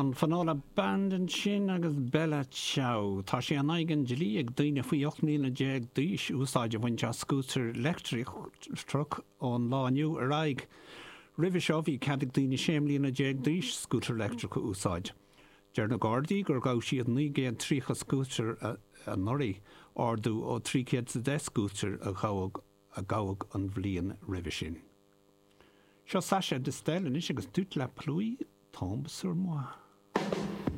An Finola Band ansin agus Bella Ciao. Tá sé in aghaidh an dlí ag daoine faoi 18 mbliana d'aois úsáid a bhaint as scútar leictreach ón lá inniu ar aghaidh. Roimhe seo bhí cead ag daoine 16 mbliana d'aois scútar leictreach a úsáid. Deir na Gardaí gur ghabh siad 930 scútar anuraidh, ardú ó 310 scútar a gabhadh an bhliain roimhe sin. Seo Sacha Distel anois agus Toute la pluie tombe sur moi.